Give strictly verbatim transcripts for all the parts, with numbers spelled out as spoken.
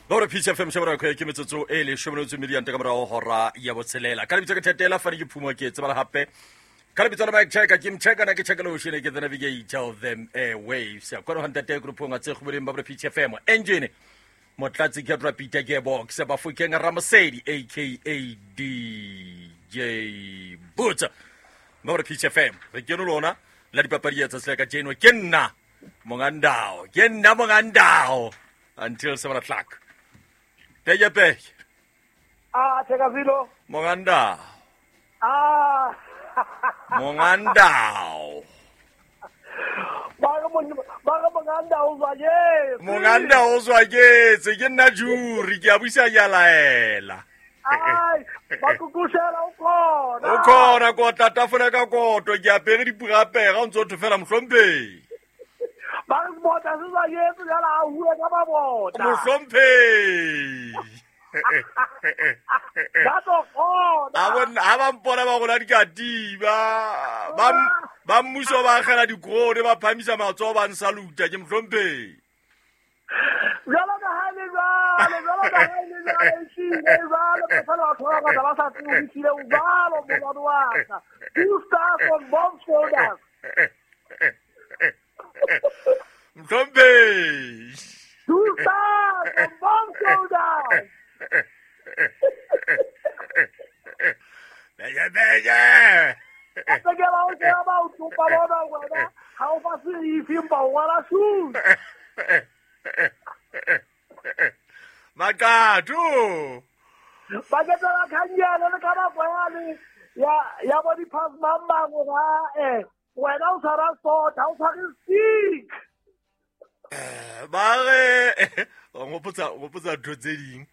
Ba P C F M shebra ko ke metsotso e le shome le metso ka morao hora ya botshelela. Ka lebitso ke Thetela fane ke phumo ke tsebala hape. Ka lebitso la Mike Checker ke mcheka na ke check lo shene ke the navigator of them airwaves. Kwa ho ntate group nga tse khubeleng ba P C F M. Engine Motlatsi ke Rapita Gearbox ba Fokeng Ramosedi aka D J Butsa. Ba P C F M. Re ke lona la dipapadi tsa tsela ka jeno ke nna mongandao. Ke nna mongandao until seven o'clock. Pege pege. Ah, Thekazilo. Mongandao. Ah. Mongandao. Ba ba mongandao zwa Mongandao zwa ke ke nna juri ke a buisa ya laela. Ai, ba kukushela o khona. O khona ko tata fole ka koto ke apere dipurapega o ntse o thofela mohlomphe. Ba re bota se zwa yetso ya la hue ka ba bota. Mohlomphe. Ba to khona. A bona ha ba mpona ba gola dikatiba. Ba ba mmuso ba agela dikrone ba phamisa matsoho ba nsaluta ke mohlomphe. Jalo ka ha le jalo, jalo ka ha le jalo, ehlile jalo, ba sa thola ka ba sa tsebe ehlile jalo molwano wa ka. Two stars on both shoulders. Mthombe. Two stars on both shoulders. Bege bege. Ke ba o ke ba o tsopa bona wena, ha o fa se ifimba wa shoes. Makatu. Ba ke tsela khanyana le ka ba kwale ya ya bo di pass mamba go eh wena o tshwara sport ha o tshware stick. Eh ba re wa ngopotsa ngopotsa ntho tse ding.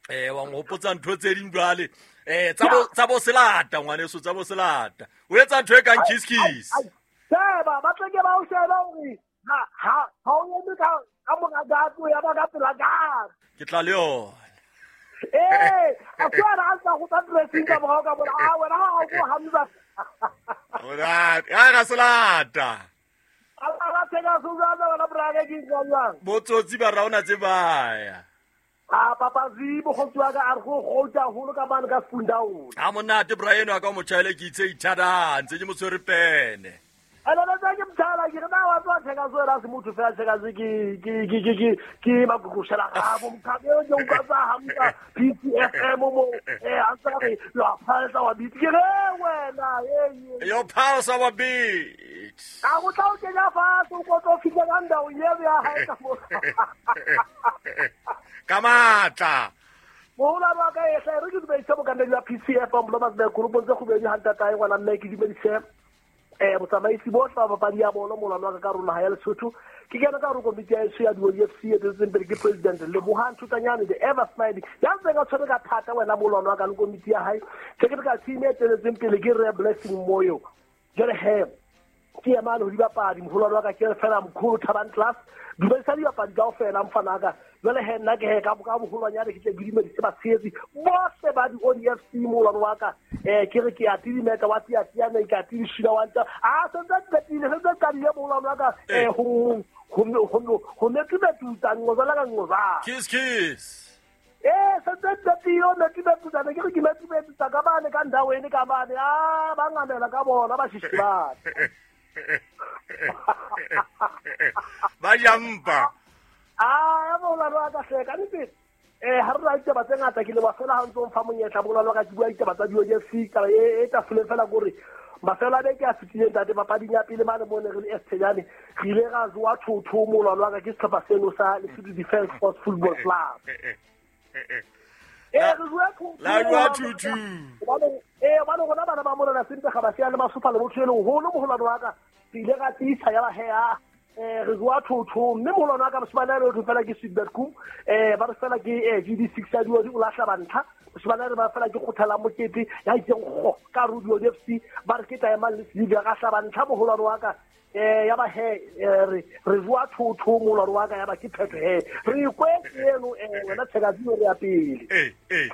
Eh wa ngopotsa ntho tse ding jwale. Eh tsa bo tsa bo selata ngwaneso tsa bo selata. O etsa ntho e kang kiss kiss. Sheba ba tle ke ba o sheba hore ha ha ha o eme ka ka mora gato ya ba ka pela ka. Ke tla le yona. Eh, a tswana a sa go tsa dressing ka morao ka bona a wena ha o go hamza. Ora, ya ga selata. A la tsena suzana wena brake ke jwang. Botsotsi ba raona tse baya. A papa zibo go tswa ka a re go gotsa holo ka bana ka Fundaun. Ha monate Brian wa ka motjhaele ke itse ithada ntse ke mo tshwere pene. Ana na ke mthala ke na wa tswa theka so ra se motho fela theka se ke ke ke ke ke ke ba go shela ga bo mkhabe ke o ka tsa hamza P C F M mo eh a tsa re lo phalsa wa beat ke re wena eh yo phalsa wa beat a go tla o kenya fa so go tlo fitla ka ndao ye ya hae ka mo ka matla Mola ba ka e re ke dumedise bokanedi ba P C F M lo ba se group tse go bedi hanta tae ngwana mme ke dumedise eh botsamaisi bohle ba papadi ya bolo molwano wa ka rona ha ya Lesotho ke kena ka hore komiti ya eso ya di O F C e tsetseng pele ke president Lebohang Thutanyane the ever smiling ya ntse ka tshwere ka thata wena molwano wa ka le komiti ya hae technical team e tsetseng pele ke Re Blessing Moyo jwale he ke ya mane ho dibapadi moholwane wa ka ke fela mkhulu Thabang class dumedisa dibapadi kaofela mfana ka jwale he nna ke he ka ka boholwanyane ke tle ke dumedise batshehetsi bohle ba di O D F C molwano wa ka eh ke re ke a tidimeta wa tia tiana ke a tidishila wa ntse a sentse qetile sentse qadile molwano wa ka eh ho ho ho ho metubetutsa ngozala ka ngoza kiss kiss eh sentse qetile o metubetutsa ke re ke metubetutsa ka bane ka ndaweni ka bane a ba ngamela ka bona ba shishibana ba jampa ah molwano wa ka hleka nnete eh ha re la ditaba tse ngata ke le ba fela ha ntse o mfa monyetla molwano wa ka ke bua ditaba tsa di O F C ka e e tafoleng fela gore mafelo a beke a fetileng tate papading ya pele mane mo ne re le Estejane re ile ra jowa thotho molwano wa ka ke sehlopha seno sa Lesotho Defence Force Football Club. Eh re jowa thotho la jowa thotho eh bana rona bana ba mona sempe ga ba sia le masupa le motho e leng holo moholwano wa ka re ile ra tiisa ya ba he a eh re jowa thotho mme moholwano wa ka moshimane a re otho fela ke Sweetbet Kum eh ba re fela ke G D six ya diodi o lahla bantlha moshimane a re ba fela ke kgothala mokete ya itseng go ka ro di O F C ba re ke taemang le Silvia ga hla bantlha moholwano wa ka eh ya ba he re re jowa thotho moholwano wa ka ya ba ke phetho he re ikwetse eno eh wena Thekazilo re ya pele eh eh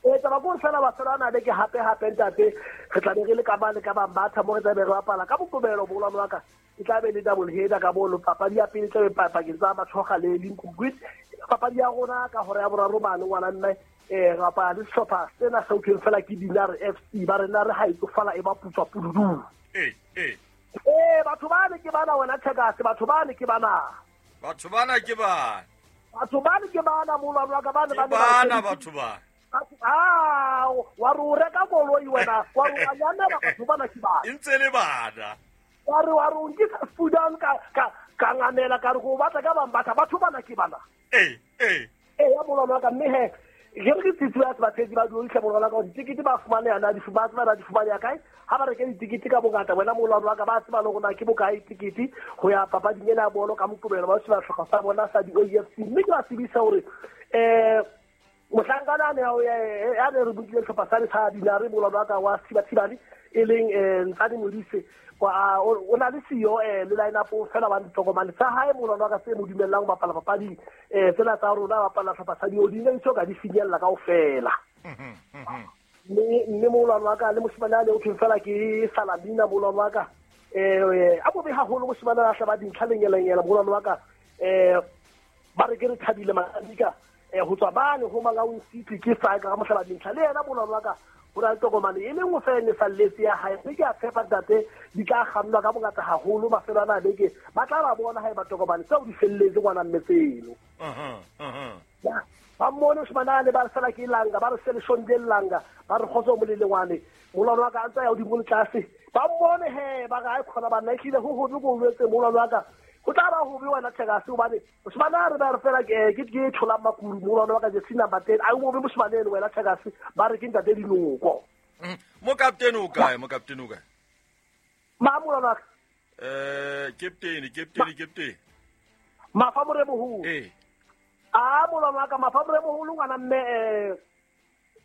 eh taba go fela ba fela na be ke hape hape ntate re tla be re le ka ba le ka ba batha mo re tla be re bapala ka bokobelo moholwano wa ka e tla be le double header ka bolo papadi ya pele tla be pakeng tsa Matshoga le Lincoln Queens Papadi ya rona ka hora ya boraro mane ngwana mme eh rapa le sehlopha sena se utlweng fela ke Dinare F C ba rena re ha e tsofala e ba putswa pududu. Eh eh eh batho bane ke bana wena Thekase, batho bane ke bana. Batho bana ke bana. Batho bane ke bana molwana wa ka bane bane bana batho ba. Ah wa re o reka koloi wena wa re wa nyamela batho bana ke bana. E ntse le bana. Wa re wa re o nkisa Sudan ka ka ka ngamela ka re go batla ka bang batha batho bana ke bana. Eh eh eh ya molwana wa ka mme he ke re ke tsitsi ya batshetsi ba duotlhe molwana ka ditikete ba fumane yana di fumane ba di fumane ya kae ha ba reke ditikete ka bongata wena molwana wa ka ba tseba le rona ke bokae tikete ho ya papading ena ya bolo ka Moqebelo ba se ba hloka sa bona sa di O F C mme ke ba tsebisa hore eh mohlankana ne ya ne re bukile sehlopha sa sa Dinare molwana wa ka wa Thibathibane e leng eh Ntsane Modise wa o na le siyo eh le line up fela ba ditokomane tsa hae molwana wa ka se mo dumellang ho bapala papading eh tsena tsa rona bapala sehlopha sa Diodine ntse ka di finyella kaofela. Mme mme molwana wa ka le moshimane a le o thweng fela ke Salamina molwana wa ka eh a bobe haholo moshimane a hlaba dintlha lenyelenyela molwana wa ka eh ba re ke re thabile manika eh ho tswa bane ho Mangaung City ke sa ka mohlaba dintlha le yena molwana wa ka ho na le tokomane e le nngwe fela e salletse ya hae mme ke a tshepa ntate di tla kgannwa ka bongata haholo mafelo ana a beke ba tla ba bona haeba tokomane tseo di felletse ngwana mme tseno. Ba mmone moshimane a le ba re fela ke langa ba re se leshonde langa ba re kgotso molelengwane molwana wa ka a ntse ya hodimo le tlase ba mmone he ba re ha e khona banna ehlile ho hobe ko jwetse molwana wa ka ho tla ba hobe wena Thekase hobane moshimane a re ba re fela ke ke ke thola makuru molwana wa ka jersey number ten a o bobe moshimane eno wena Thekase ba re ke ntate Dinoko. Mo captain o kae mo captain o kae ma molwana wa ka eh captain captain captain Mafa Moremoholo eh a molwana wa ka Mafa Moremoholo ngwana mme eh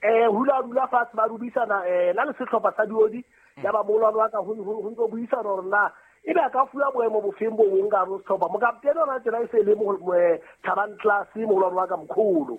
eh hula dula fatshe ba rubisana eh la le sehlopha sa Diodi ya ba molwana wa ka ho ho ntso buisana hore na e be ka fuwa boemo bofeng bo bong ka ro sehlopha mokaptene ona tsena e se le mo Thabang Class molwana wa ka mkholo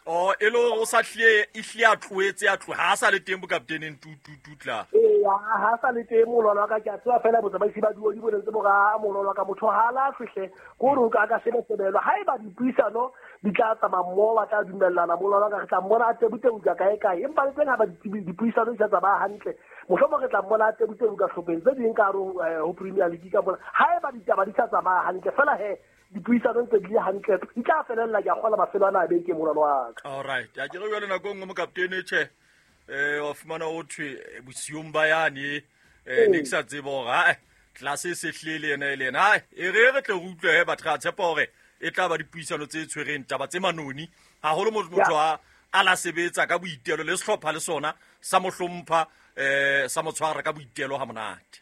oh e le o sa hle e hle a tloetse a tlo ha sa le teng bokapteneng tu tu tu tla eh ha sa le teng molwana wa ka ke a tseba fela botsamaisi ba Diodi bo ntse bo ga molwana wa ka motho ha la fihle go re o ka ka sebetsebelwa ha eba dipuisano di tla tsamaya mmoho ba tla dumellana molwana wa ka re tla mmona a tebuteuka kae kae empa le teng ha ba dipuisano di sa tsamaya hantle mohlomong re tla mmona a tebuteuka hlopheng tse ding ka hare ho Premier League ka mona ha eba ditaba di sa tsamaya hantle fela he dipuisano tse di le hantle di tla felella ke a kgola mafelo ana a beke molwana wa ka. All right ya ke re jwale nako e nngwe mokaptene tjhe eh wa fumana o thwe bosiung ba yane eh ne ke sa tsebe hore ha class e se hlile yena e le yena hai e re re tle re utlwe he batho ra tshepa hore e tla ba dipuisano tse tshwereng taba tse manoni haholo motho a a la sebetsa ka boitelo le sehlopha le sona sa mo hlompha eh sa mo tshwara ka boitelo ha monate.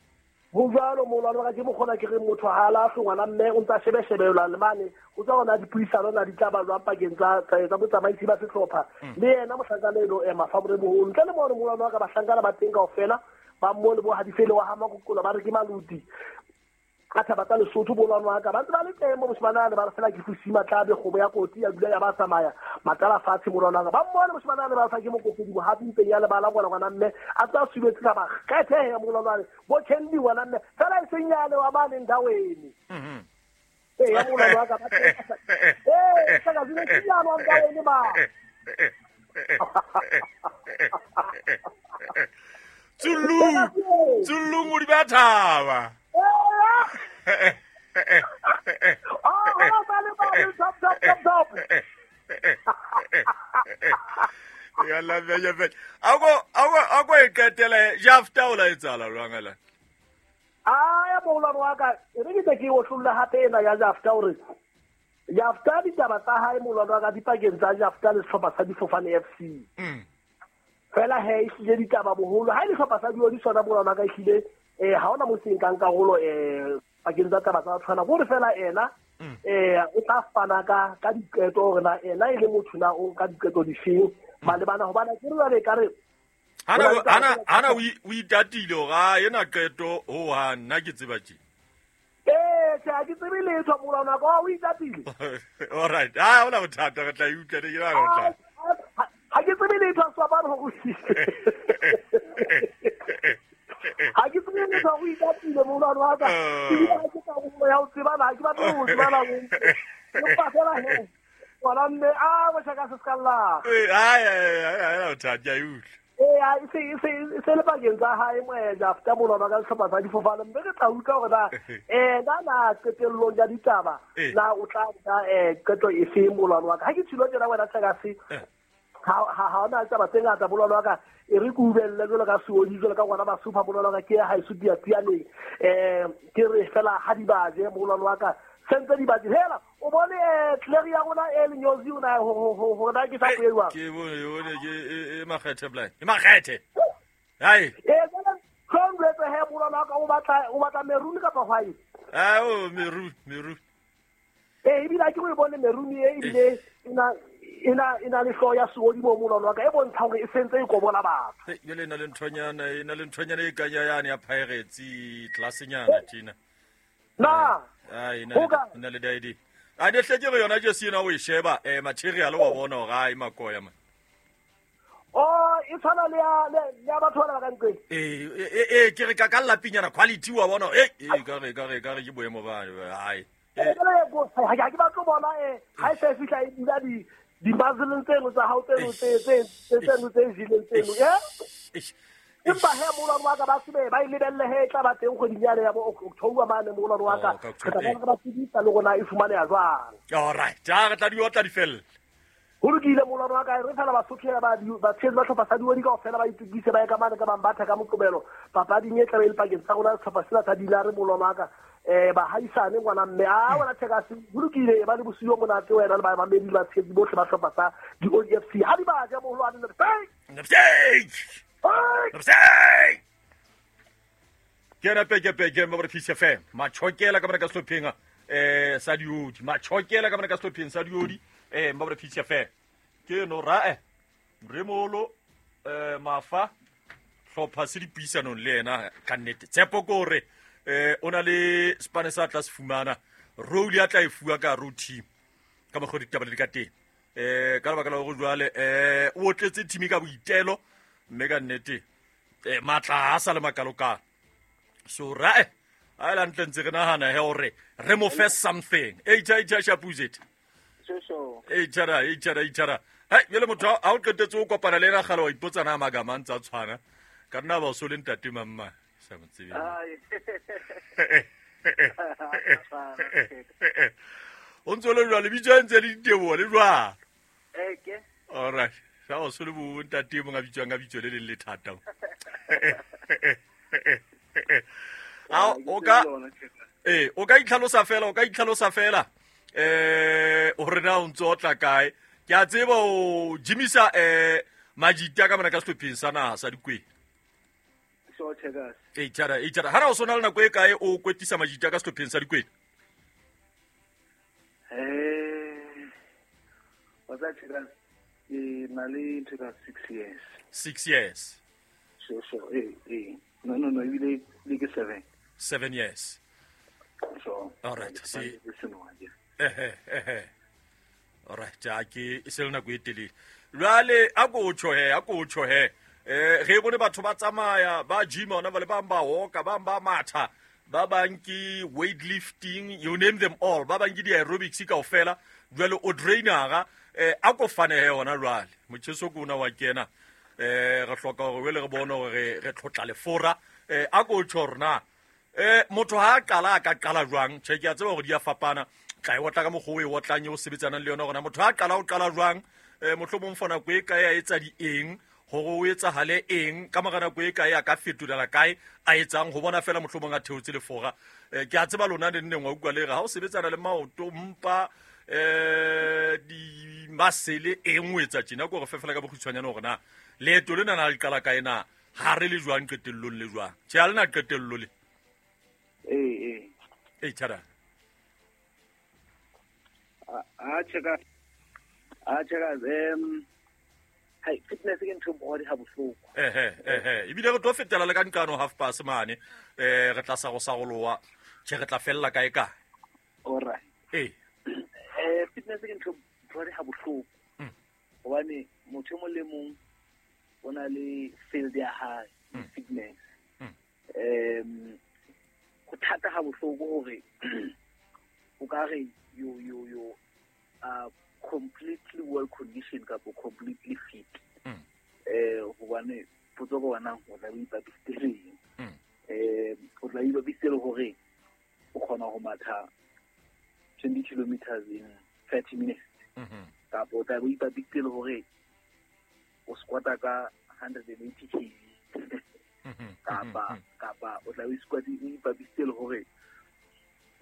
Ho jwalo molwana wa ka ke mokgona ke re motho ha lahle ngwana mme o ntsa shebeshebelwa le mane o tsa ona dipuisano na di tla ba jwang pakeng tsa tsa botsamaisi ba sehlopha le yena mohlankana eno e Mafa Moremoholo ntle le mo molwana wa ka bahlankana ba teng kaofela ba mmone bo hadifele wa ha Makokola ba re ke maluti ka thaba tsa Lesotho molwana wa ka ba ntse ba le teng mo moshimane a le ba re fela ke fusima tlabe kgomo ya kotsi ya dula ya ba tsamaya matala fatshe molwana wa ka ba mmone moshimane a le ba re fa ke mokopedi bohapi mpeng ya lebala ngwana ngwana mme a tsa subetse ka ba kgethehe ya molwana bo Candy ngwana mme fela e seng yale wa mane ndaweni mhm eh ya molwana wa ka ba eh saka zile tsiyana wa ndaweni ba Tsulu Tsulu ngudi ba thaba Oh, top, top, top, top. Yalla benya benya. Ako ako ako e qetela jafta o la etsala jwang la. Ah ya molwana wa ka re ke ke o hlolla hape ena ya jafta hore jafta ditaba tsa hae molwana wa ka dipakeng tsa jafta le sehlopha sa Difofane F C. Mm. Fela he e hlile ditaba boholo ha e le sehlopha sa Diodi sona molwana wa ka e hlile eh ha ona mo seng kang karolo eh pakeng tsa taba tsa tshwana gore fela ena eh o tla fana ka ka diqeto hore na ena e le motho na o ka diqeto difeng malebana hobane ke re jwale ka re hana hana hana o itatile hore ha ena qeto ho ha nna ke tseba tje eh tjhe ha ke tsebe letho molwana ka o itatile. All right ha hona bothata re tla e utlwa ne ke na re tla ha ke tsebe letho a ba re go ha ke tsebe letho o itatile molwana wa ka ke bile ha ke ka go ya o tsebana ha ke batle ho tsebana empa fela he Ngwana mme a bo chaka se skalla. Eh ai ai ai ai o tha ke utlwa. Eh a se se se le pakeng tsa hae moeja after molwana ka sehlopha sa difofane mme re tla utlwa hore na eh na na qetellong ya ditaba na o tla nka eh qeto efe molwana wa ka. Ha ke tshilo tjena wena Tshekasi ha ha ha ona taba tse ngata molwana wa ka e re ke ubelle jwalo ka seodi jwalo ka ngwana ba super molwana wa ka ke ha e sudia tianeng eh ke re fela ha di baje molwana wa ka sentse di baje hela o bone eh tleri ya rona e lenyozi o na ho ho ho na ke sa poelwa ke bone yone ke e makgethe blind e makgethe hai eh jana tlhomletse he molwana wa ka o batla o batla maroon kapa white ah o maroon maroon eh ebile ke o bone maroon e ebile ina ina ina le hloya seodi mo molwana wa ka e bontsha hore e sentse e kobola batho e jole ina le nthonyana ina le nthonyana e kanya yane ya Pirates tlasenyana tjena na ai ina ina le dadi a ne hle ke re yona jesi ena o e sheba eh material wa bona hore ai makoya man oh e tshwana le ya le ya batho ba ka nqeng eh eh eh ke re ka ka lapinyana quality wa bona eh eh ka re ka re ka re ke boemo ba ai eh ha ke batlo bona eh ha e se fihla e dula di di bazeleng tseno tsa hao tseno tse tse tseno tse jileng tseno eh empa he molwana wa ka ba sebe ba e lebelle he e tla ba teng kgweding yane ya bo October mane molwana wa ka re tla ba ba tsebisa le rona e fumaneha jwang. All right ja re tla di otla di fella ho lokile molwana wa ka re fela Basotho ba ba tshehetsi ba hlopha sa diodi kaofela ba itukise ba ye ka mane ka bang batha ka Moqebelo papading e tlabe e le pakeng tsa rona sehlopha sena sa Dilare molwana wa ka eh ba haisane ngwana mme a wena Tshekasi ho lokile ba le bosiu monate wena le ba mamedi ba tshehetsi bohle ba hlopha sa di O F C ha di ba ja moholwane le ke ena peke peke mo re P C F M machokela ka mona ka sehlopheng eh sa diodi machokela ka mona ka sehlopheng sa diodi eh mo re P C F M ke no ra eh remolo eh mafa hlopha se dipuisanong le yena ka nnete tshepo ke hore eh o na le spane sa tla se fumana role ya tla e fuwa ka ro team ka mokgwa ditaba di ka teng eh ka lebaka la hore jwale eh o tletse team ka boitelo mme ka nnete eh matla a sa le makalokalo so ra eh a la ntle ntse re nahana he hore re mo fe something e cha cha shapuzet so so e chara e chara e chara hai jele motho ha o qetetse o kopana le ena kgale wa ipotsa na magama a ntse a tshwana ka nna ba o so le ntate mamma sa mo tsebe o ntse le jwale bitso ntse le diteboho le jwalo eh ke all right sa o so le bo ntate mong a bitswang ka bitso le leng le thata a o ka eh o ka itlhalosa fela o ka itlhalosa fela eh hore na o ntse o tla kae ke a tseba o jimisa eh majita ka mona ka sehlopheng sa naha sa Dikwena so Tshekasi e tjara e tjara ha o sona le nako e kae o kwetisa majita ka sehlopheng sa Dikwena eh wa tsa Tshekasi ke na le ntho ka six years six years so so eh eh no no no ebile le ke seven seven years so all right see eh eh eh all right ja ke e se le nako e telele jwale a ko tjho he a ko tjho he eh re bone batho ba tsamaya ba gym ona ba le bang ba hoka ba ba matha ba bang ke weight lifting you name them all ba bang ke di aerobics kaofela jwale o drainera eh a ko fane he ona jwale motjheso ke ona wa kena eh re hloka hore wele re bone hore re tlotla lefora eh a ko tjho rona eh motho ha qala a ka qala jwang tjhe ke a tseba hore di a fapana tla e otla ka mokgwa o e otlang eo sebetsanang le yona hore motho ha qala o qala jwang eh mohlomong for nako e kae a etsa di eng hore o etsahale eng ka mora nako e kae a ka fetolela kae a etsang ho bona fela mohlomong a theotse lefora eh ke a tseba lona ne nneng wa utlwa le re ha o sebetsana le maoto mpa eh di masele eng o etsa tjena ko re fefela ka bokgutshwanyane hore na leeto lena na le qala kae na ha re le jwang qetellong le jwang tjhe ha le na qetello le eh eh eh tjhara a tjheka a tjheka em hai fitness ke ntho body ha bohloko eh eh eh ebile re tlo fetela le ka nqano half past mane eh re tla sa go sa goloa tjhe re tla fella kae kae all right eh eh fitness ke ntho body ha bohloko hobane motho mo le mong o na le field ya hae fitness em go thata ha bohloko hore o ka re yo yo yo a completely well conditioned kapa completely fit. Eh hobane potso go bona o tla o ipapisitse eng? Eh o tla ipapisitse hore o kgona ho matha twenty kilometers in thirty minutes. Kapa o tla o ipapisitse hore o squata ka one hundred eighty kilograms. Kapa kapa o tla o squat o ipapisitse hore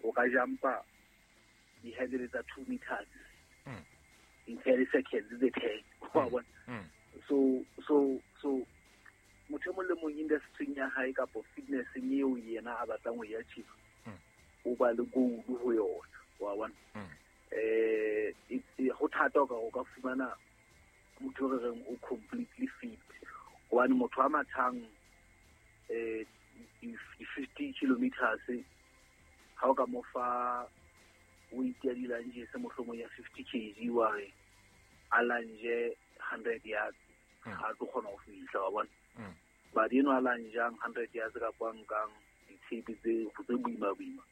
o ka jumpa di-hurdle tsa two meters in thirty seconds tse ten. Wa bona? So so so motho e mong le mong industry ya hae kapa fitness eo yena a batlang ho e achieve o ba le goal ho yona. Wa bona? Eh ho thata o ka o ka fumana motho re reng o completely fit hobane motho a mathang eh di fifty kilometers ha o ka mo fa weight ya di-lunges mohlomong ya fifty kilograms wa re a lunge hundred yards ha tlo kgona ho fihla. Wa bona? But eno a lungeang hundred yards kapa nkang ditshepe tse tse boima boima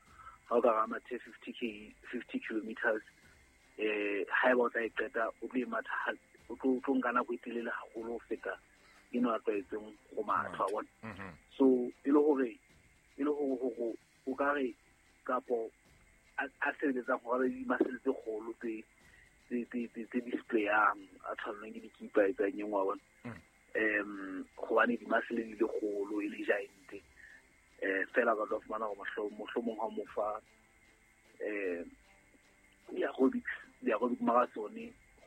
ha o ka ra mathe fifty k fifty kilometers eh haeba o tla e qeta o tlo e matha o tlo tlo nka nako e telele haholo ho feta eno a tlwaetseng ho matha. Wa bona? So e le hore e le hore hore o ka re kapo a sebeletsang hore di-muscle tse kgolo tse tse tse tse displayang a tshwanelwang ke dikipa e tsang engwe. Wa bona? Um hobane di-muscle di le kgolo e le giant eh fela ka tlo fumana hore mohlomong ha mo fa eh di-aerobics di-aerobic marathon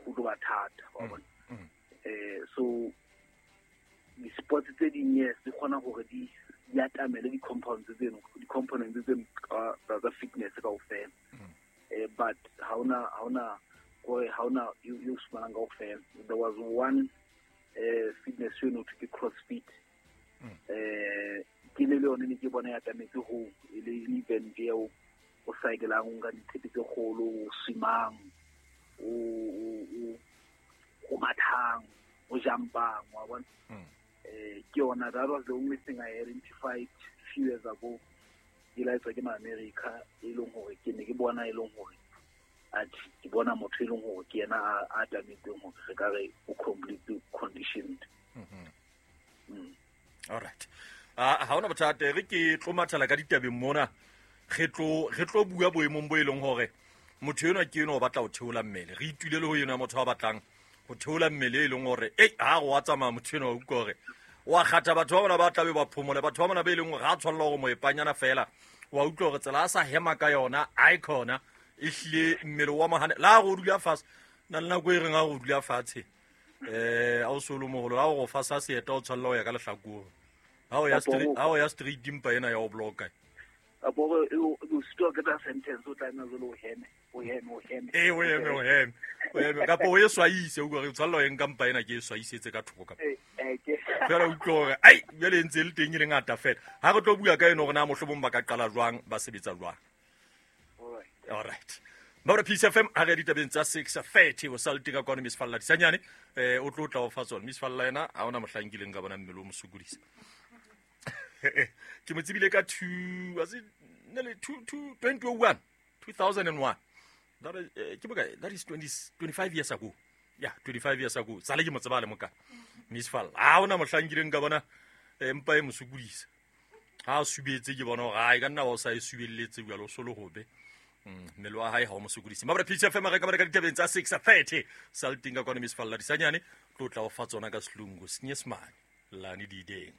ho tlo ba thata. Wa bona? Eh so di-sports tse ding yes di kgona hore di di atamele di-compounds tseno di-components tseno tsa fitness kaofela. Eh but ha ona ha ona gore ha ona yo fumanang kaofela. There was one eh fitness eno to ke CrossFit. Eh ke le yone ne ke bona ya atametse ho e le event eo o cycleang o nka ditshepe tse kgolo o swimang o o o mathang o jumpang. Wa bona? Eh ke yona that was the only thing I identified few years ago. Ke la etswa ke ma-America e leng hore ke ne ke bona e leng hore athe ke bona motho e leng hore ke yena a atametseng hore re ka re o completely conditioned. Mm. All right. Ah ha ona bothata re ke tlo mathala ka ditabeng mona re tlo re tlo bua boemong bo e leng hore motho enwa ke eno o batla ho theola mmele. Re itule le ho yena motho a batlang ho theola mmele e leng hore ei ha go wa tsamaya motho enwa o utlwa hore wa kgatha batho ba bona ba tlabe ba phomole batho ba bona be leng hore ha tshwanela hore moepanyana fela wa utlwa hore tsela a sa hema ka yona a ikhona e hlile mmele wa mohane la go dula fatshe na le nako e reng ha go dula fatshe eh a o solo moholo ha go fa sa seeta o tshwanela ho ya ka lehlakore ha o ya street ha o ya street dimpa ena ya o blocka apo o o sitwa ka ta sentence o tla nna jalo o heme o heme o heme eh o heme o heme o heme kapo o e swaise o re tshwanela ho nka mpa ena ke e swaisetse ka thoko ka eh eh ke fela utlwa hore ai jwale ntse le teng e le ngata fela ha re tlo bua ka eno hore na mohlomong ba ka qala jwang ba sebetsa jwang. All right. Mabra Peace F M ha re ditabeng tsa six thirty o sa le teka kwano Miss Falla Disanyane eh o tlo tla o fa tsona Miss Falla ena ha ona mohlankileng ka bona mmele o mosokodisa. Ke mo tsebile ka two was it nearly two two twenty oh one two thousand one. That is eh, ke bokae that is twenty twenty-five years ago. Yeah, twenty-five years ago. Sale ke mo tseba le moka. Miss Falla ha ona mohlankileng ka bona empa e mosokodisa. Ha a subetse ke bona hore ha e ka nna wa o sa e subelletse jwalo solo hobe. Mmele wa hae ha o mo sokodise. Mabra Peace F M re ka ba ka ditabeng tsa six thirty salting ka kwano Miss Falla Disanyane tlo tla o fa tsona ka selungu senyesemane lane di deng.